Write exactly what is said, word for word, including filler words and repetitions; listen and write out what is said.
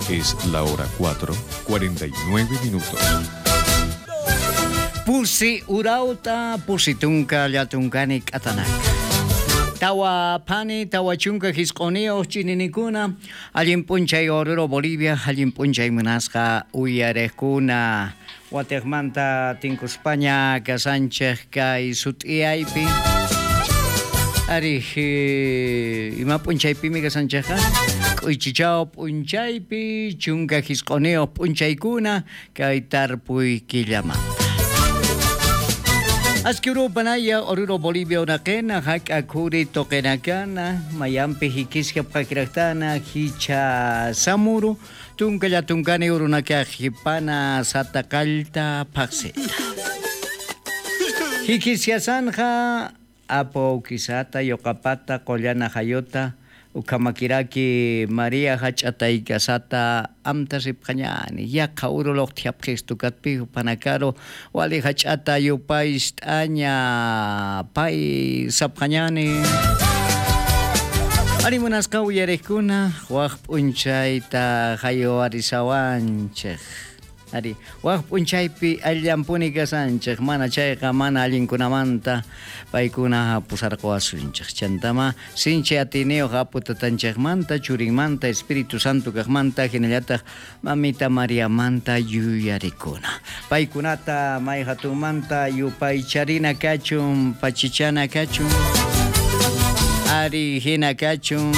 Es la hora cuatro, cuarenta y nueve minutos. Pusi urawta, pusi tunka, llatunkani k'atanak. Tawa phani, tawa chunka jisq'uniyux ch'ininikuna, allin p'unchay Oruro Bolivia, allin p'unchay munasqa uyariqkuna. Watiqmanta tinkuspaña kasanchik kay sut'iyaypi. Ari, eh, ima p'unchaypimi kasanchikqa? K'uychichaw p'unchaypi, chunka jisq'uniyux p'unchaykuna, kay tarpuy killamanta. Aski urupanaya, Oruro Bolivia uraqina, jak'a khuri tuqinakana, mayampi jikisjapxakiraqtana, jichha samuru, tunka llatunkani urunakax jipana sata qallta phaqsita. Jikisjasanxa, apu awkisata, yuqapata, qullana jayuta, ukhamakiraki María jach'ataykasata amtasipxañani, yaqha uru luqtjapxistu katpi jupanakaru, wali jach'ata yupay ist'aña pay sapxañani. Ari munasqa uyariqkuna, waj p'unchayta jayuwarisawanchik. Ari, waj p'unchaypi alllampuni kasanchik, mana chayqa mana allinkunamanta paykuna pusarquwasunchik. Chantama sinchi atiyniyoq Apu Tatanchikmanta, Churinmanta, Espíritu Santo kaqmanta, jinallataq Mamita Mariamanta yuyarikuna. Paykunata mayjatunmanta yupaycharina kachun, pachichana kachun. Ari, jina kachun.